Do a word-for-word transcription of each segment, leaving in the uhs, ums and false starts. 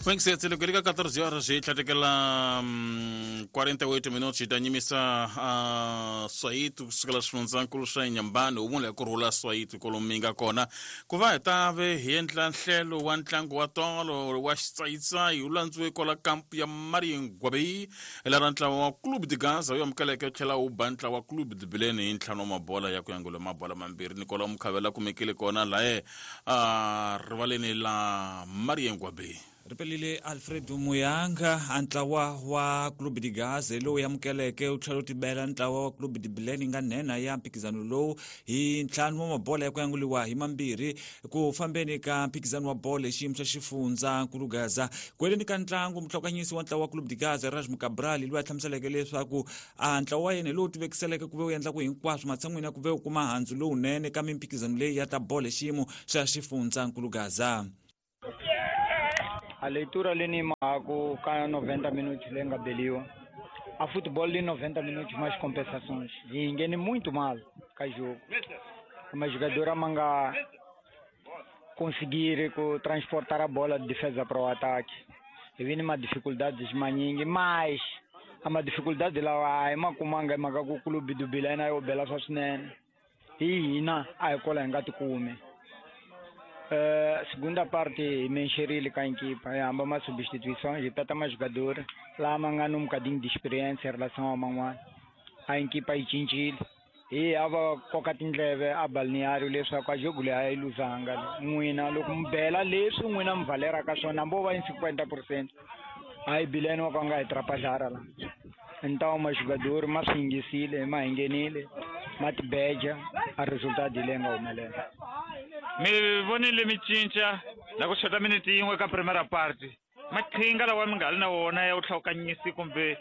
Wengisetse loko ri ka quatorze horas hi tlhatekela quarenta e oito minutos hi ta nyimisa uh, Soweto kusukela xifundzankulu xa Inhambane wu ku rhula Soweto kwalomu mi nga kona ku va hi ta ve hi endla nhlelo wa ntlangu wa tolo wa xitsayitsayi wu landziwe kwala kampu ya Mariengwabe lara ntlawa wa Clube de Gaza wu amukeleke tlhela wu ba ntlawa wa Clube de Bilene hi ntlhanu wa mabola ya ku yangula mabola mambirhi ni kwala Mukhavela kumekile kona laye uh, rivaleni la Mariengwabe. Ripelile Alfredo Muyanga antlawa wa Clube de Gaza lowu amukeleke u tlhela u tibela ntlawa wa Clube de Bilene nga nhenha ya mphikizano lowu hi ntlhanu wa mabola ya ku yanguliwa hi mambirhi ku fambeni ka mphikizano wa bolo hi xiyimo xa xifundzankulu Gaza. Ku heleni ka ntlangu muhlokanyisi wa ntlawa wa Clube de Gaza Rajmu Cabral loyi a hlamuseleke leswaku a ntlawa wa yena lowu tivekiseleke ku ve wu endla ku hinkwaswo matshan'wini ya ku ve wu kuma handzu lowunene ka mimphikizano leyi ya ta bolo hi xiyimo xa xifundzankulu Gaza. A leitura ali mago ka noventa minutos lenga beliwa. A futebol de noventa minutos mais compensações. E engene muito mal ka jogo. Uma jogadora manga conseguir transportar a bola de defesa para o ataque. E vem uma dificuldade maningi, mas a uma dificuldade lá é uma kumanga maga ku clube do Bilena yo bela só sinene. E ina a escola ngati kume. Uh, segunda parte mexerile com a equipa, há uma substituição, já está mais jogador, lá mangando um bocadinho de experiência em relação ao Manguan. A equipa é cinchil e a cocatinleve a balneário le só com a jogo a ilusanga, muina logo bela leso muina valera ka sona bo vai em cinquenta por cento. Aí Bileno vanga atrapalhar lá. Então o jogador mais ingisile, mais engenile, mais beja, a resultado de lenga o melhor. Mi vonile mi cinca la ku xota minute yin'we ka primera parte maqhinga lawa mi nga ri na wona ya vuhlawukanyisi kumbe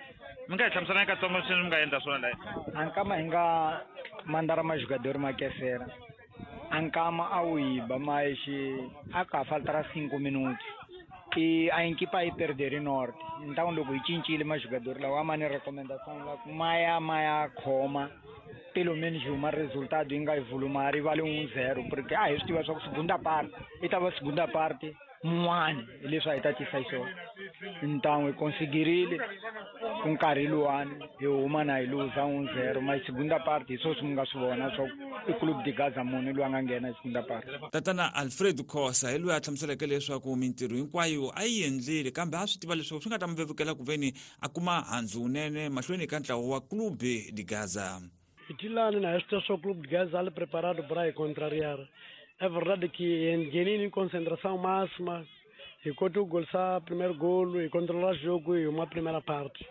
mi nga hi hlamusela katsongo sweswi mi nga endla swona laha ankama hi nga mandara majogador ma kesera ankama a wu yiba mas a ka faltara cinco minutos e a equipa yi perdere norte então loko hi cincile majogador lawa ma ni recomendação la maya maya khoma pelo menos uma resultado inga volumari vale um zero porque ah eu estive só segunda parte e tava segunda parte um ele só está te sai só então eu consegui com carilo ano eu uma na ilusão um zero mas segunda parte só se munga subona só o clube de Gaza muno lwa ngena segunda parte. Tatana Alfredo Khosa hi loyi a hlamuseleke leswaku mintirho hinkwayo a yi endlile kambe a swi tiva leswaku swi nga ta mi vevukela ku veni a kuma handzu wunene mahlweni ka ntlawa wa Clube de Gaza. Itilano na este o Clube de Gaza ali preparado para contrariar. É verdade que em concentração máxima, enquanto o gol sa primeiro golo e controlar o jogo e uma primeira parte.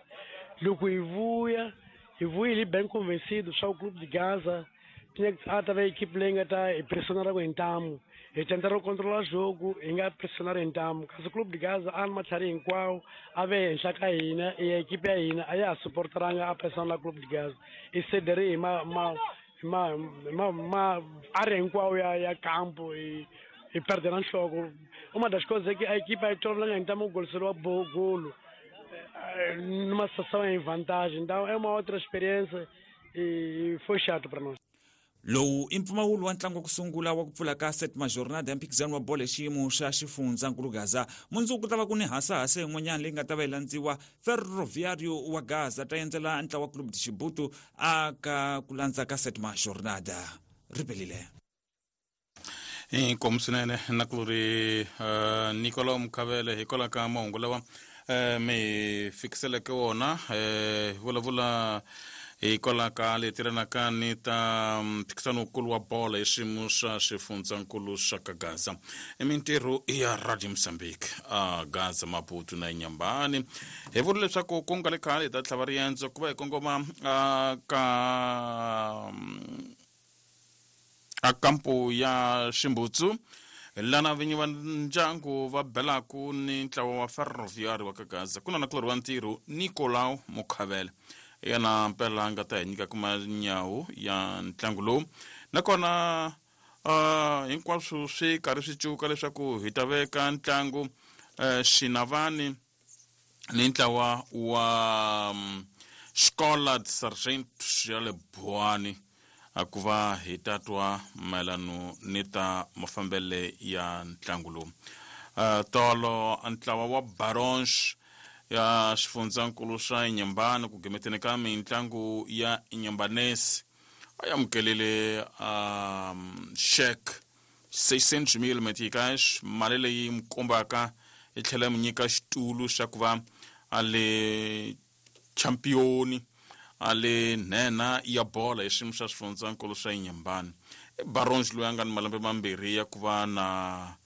Logo e voia ele bem convencido, só o Clube de Gaza tinha que a equipe lenga tá e pressionar o entamo, e tentaram controlar o jogo, e nga pressionar entamo. Caso o Clube de Gaza alma tari em qual ave em Chacaína e a equipe aí aí a suportar a pressão do Clube de Gaza e cederem ma ma ma ma ma área em qual ya ya campo e e perderam o jogo. Uma das coisas é que a equipe aí toda então o gol será bom golo numa situação em vantagem, então é uma outra experiência e foi chato para nós. Lowu i mpfumawulo wa ntlangu wa ku sungula wa ku pfula ka setima jornada ya mphikizano wa bolo hi xiyimo xa xifundzankulu Gaza. Mundzuku ku ta va ku ni hasahasa yin'wanyana leyi nga ta va yi landziwa Ferroviário wa Gaza ta endzela ntlawa wa Clube de Chibuto a ka ku landza ka setima jornada. Ripelile inkomu swinene na ku ri Nicolau Mukhavele hikwalaho ka mahungu lawa mi fikiseleke wona vulavula hikwalaho ka leti tirhanaka ni ta mphikizanokulu wa bolo hi xiyimo xa xifundzankulu xa ka Gaza. I mintirho ya Radio Mozambique a Gaza, Maputo na Inhambane. Hi vula leswaku ku nga le khale hi ta tlhava riendzo ku va hi kongoma ka a kampo ya Ximbutsu lana vinyi va ndyangu va belaku ni ntlawa wa Ferroviário wa ka Gaza. Ku na na kulori wa ntirho Nicolau Mukhavele yena mpela nga ta hi nyika kuma nyawu ya ntlangu lowu nakona uh, hinkwaswo swi karhi swi cuka leswaku hi ta veka ntlangu uh, Xinavani ni ntlawa wa um, Escola de Sargento ya le Buani ku va hi ta twa mayelano ni ta mafambele ya ntlangu lowu. uh, tolo ntlawa wa Barons ya xifundzankulu xa Inhambane ku gimeteni ka mitlangu ya Inhambanesi a amukelile um, cheque seiscentos mil meticais, mali leyi mi kombaka yi tlhela mi nyika xitulu xa ku va a le championi a le nhenha ya bola hi xiyimo xa xifundzankulu xa Inhambane. I Barons loyi a nga ni malembe mambirhi ya ku va na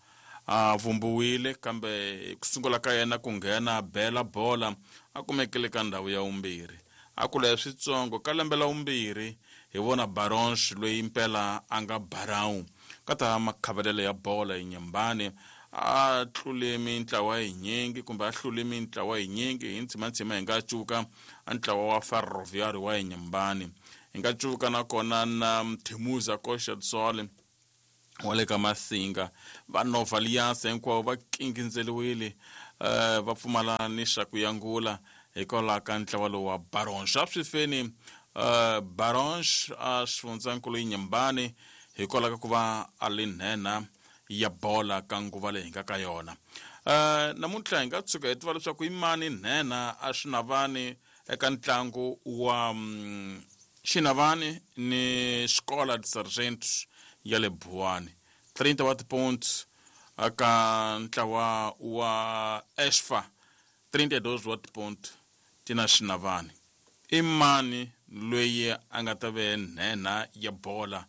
a vumbiwile, kambe ku sungula ka yena ku nghena bela bola a kumekile ka ndhawu ya vumbirhi. A kula hi switsongo ka lembe la vumbirhi hi vona Barons loyi impela a nga barau ka ta makhavelelo ya bola Inhambane, a tlule mintlawa yinyingi kumbe a hlule mintlawa yinyingi hi ntsimantsima. Hi nga cuka a ntlawa wa Ferroviário wa Inhambane, hi nga cuka nakona na Mthemuza Koxatsole wa le ka Masinga, va Nova Alliance hinkwavo va kingindzeliwile, uh, va pfumala ni xa ku yangula hikwalaho ka ntlawa lowu wa Barons. A swi feni uh, Barons a xifundzankulu Inhambane hikwalaho ka ku va a li nhenha ya bola ka nguva leyi hi nga ka yona. Uh, namuntlha hi nga tshuka hi tiva leswaku i mani nhenha a Xinavani eka ntlangu wa um, Xinavani ni Escola de Sargentos ya le Buwani, trinta wa tipoints aka ntlawa wa Esfa, trinta e dois wa tipoint ti na Xinavani. I mani loyi a nga ta ve nhenha ya bola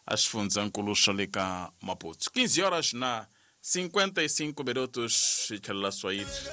a xifundzankulu xa le ka Maputo? quinze horas na cinquenta e cinco minutos, hi tlhelela Swahili.